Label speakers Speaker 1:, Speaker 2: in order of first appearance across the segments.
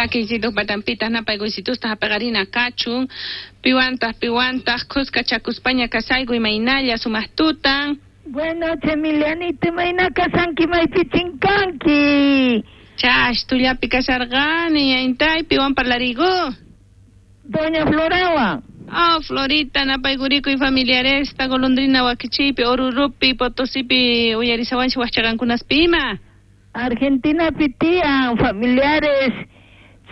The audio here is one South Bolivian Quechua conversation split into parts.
Speaker 1: Makiysituq patanpitaq napaykuysitusta hap'iqarina kachun. Piwantaq piwantaq khuskachakuspaña kasayku imaynalla sumaq tutan.
Speaker 2: Buenas noches, Emilianita, imayna kasanki maypi chinkanki.
Speaker 1: Chash, tullapi kasharqani, ñañtay, piwan parlariyku.
Speaker 2: Doña Florawan.
Speaker 1: Oh, Florita, napaykurikuy familiaresta, golondrina wakichiypi, Orurupi, Potosipi, uyarisawanchik waqchaqankunaspi ima.
Speaker 2: Argentinapi tiyan familiares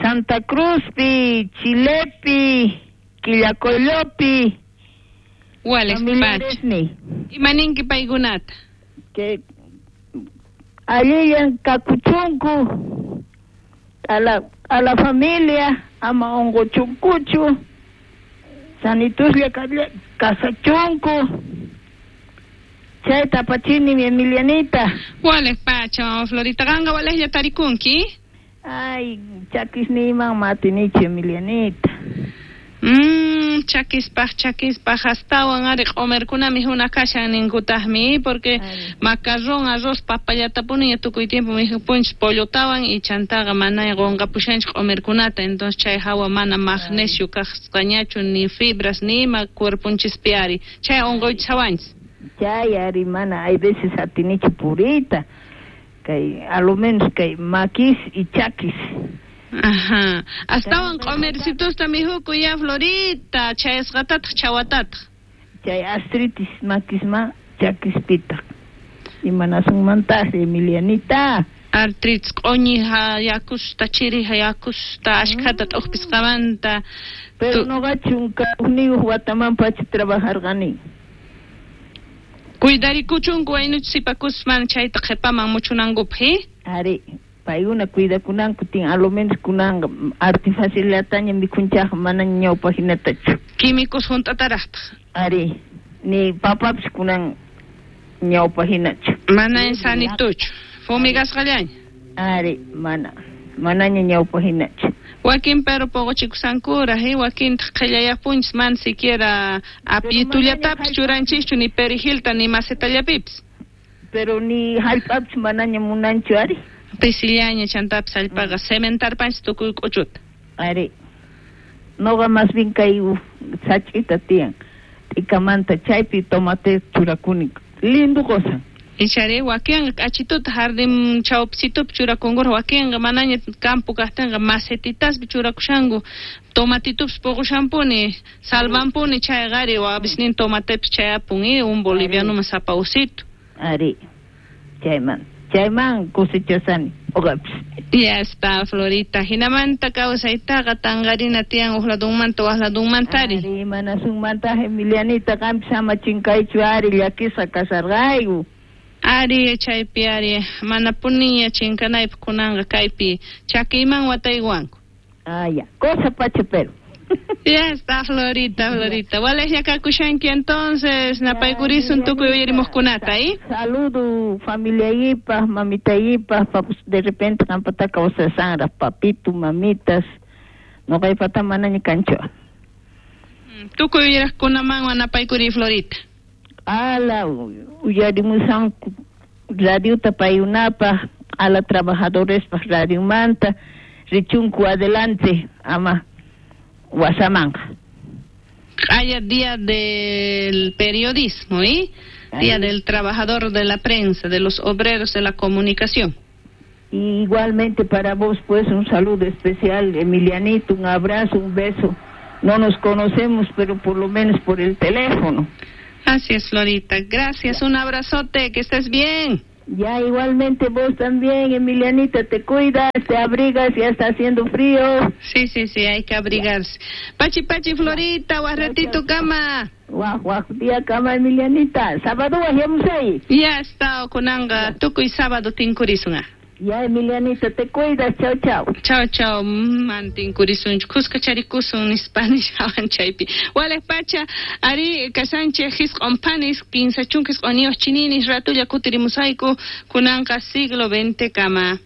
Speaker 2: Santa Cruzpi, Chilepi, Quillacollopi.
Speaker 1: Wales
Speaker 2: Familiares
Speaker 1: pacha.
Speaker 2: ni.
Speaker 1: Imaninki paykunata.
Speaker 2: Que allillan kakuchunku a la familia ama unquchunkuchu sanituslla kasachunku chayta apachini mi Emilianita.
Speaker 1: Wales pacha, mama Florita, qanqa walejlla tarikunki.
Speaker 2: Ay, chakisniyman matinichu Emilianita.
Speaker 1: Chakispaj, chakispaj, astawan ari q'umirkunami huna kashan ninkutaqmi, porque macarrón, arroz, papallatapuni tukuy tiempo mikhupunchis pollotawan y chantaqa mana qunqapushanchik q'umirkunata, entonces chay hawa mana magnesio kasqañachu ni fibras ni ima cuerponchispi ari, chay unquychawanchis.
Speaker 2: Chay ari mana hay veces atinichu puriyta, kay a lo menos kay makis y chakis.
Speaker 1: Ajá. Astawan q'umircitusta mikhukuy ya Florita, chayasqatataq chawatataq.
Speaker 2: Chay artritis makisma chakispitaq. Imanasunmantaq Emilianita.
Speaker 1: Artritis q'uñi yakusta chiri yakusta ashkhata t'uqpisqamanta.
Speaker 2: Pero noqa 11 wataman pacha trabajarqani.
Speaker 1: Cuidarikuchunku waynuchis sipakusman chayta qhipaman muchunankupaq, eh?
Speaker 2: Ari, paykuna cuidakunanku tin a lo menos kunanqa artifacillataña mikhunchaqqa mana ñawpaq hinatachu.
Speaker 1: Químicos hunt'ataraqtaq.
Speaker 2: Ari, ni papapis kunan ñawpaq hinachu.
Speaker 1: Mana sanituchu, fumigasqallaña.
Speaker 2: Ari, mana, manaña ñawpaq hinachu.
Speaker 1: Wakin pero puquchikusankuraq, eh? Wakintaq qhillayapunchis mana siquiera apitullatapis churanchischu ni perejilta ni macetallapipis.
Speaker 2: Pero ni hallp'apis manaña munanchu ari.
Speaker 1: Pisillaña chantapis hallp'aqa cementarpanchis tukuy k'uchuta.
Speaker 2: Ari, noqa más bien kay sach'ita tiyan t'ikamanta chaypi tomate churakuni lindo cosa.
Speaker 1: Ichari wakinqa k'achituta jardín chawpisitupi churakunkuraq, wakinqa manaña campo kaqtinqa macetitaspi churakushanku, tomatitupis puqushanpuni, salvanpuni chayqa ari wapisnin tomatepis chayapun, un bolivianoman sapa usito.
Speaker 2: Ari, chayman cosechasani uqapis.
Speaker 1: Ya está, Florita. Hinamanta kawsaytaqa tanqarina tiyan uq ladunmanta waq ladunmantari.
Speaker 2: Ari, manasunmanta Emilianita qampis ama chinkaychu ari llakisqa kasarqayku.
Speaker 1: Ari, chaypi ari, manapuniña chinkanaypaq kunanqa kaypi chakiyman wataywanku.
Speaker 2: Ah, ya, cosa pacha pero.
Speaker 1: Ya está, Florita, Florita. Walejlla kakushanki entonces, napaykurisun tukuy uyarimuqkunata, ¿eh?
Speaker 2: Saludo familiayipaq, mamitayipaq, papus de repente qampata kawsasanraq, papito, mamitas, noqaypata manaña kanchu.
Speaker 1: Tukuy uyariqkunaman napaykuri, Florita.
Speaker 2: Ala, uyarimusanku radiota payunapaq, ala trabajadorespaq radiomanta, richunku adelante, ama wasamanqa.
Speaker 1: Haya día del periodismo, ¿eh? Día del trabajador de la prensa, de los obreros de la comunicación.
Speaker 2: Y igualmente para vos, pues, un saludo especial, Emilianito, un abrazo, un beso. No nos conocemos, pero por lo menos por el teléfono.
Speaker 1: Así es, Florita. Gracias, un abrazote, que estés bien.
Speaker 2: Ya, igualmente vos también, Emilianita, te cuidas, te abrigas, ya está haciendo frío.
Speaker 1: Sí, sí, sí, hay que abrigarse. Pachi, pachi, Florita, waj ratito kama.
Speaker 2: Waj, waj, día kama, Emilianita. Sábado, ahí.
Speaker 1: Ya está, kunanqa, tukuy sábado tinkurisun.
Speaker 2: Ya, Emilianita, te cuidas, chao, chao.
Speaker 1: Chao, chao, man tinkurisunchu, kuska charikusun nispa nishawan chaypi. Walej pacha, ari kasanchej 90 panis, 39 chininis, ratulla kutirimusayku, kunanqa siglo XX kama.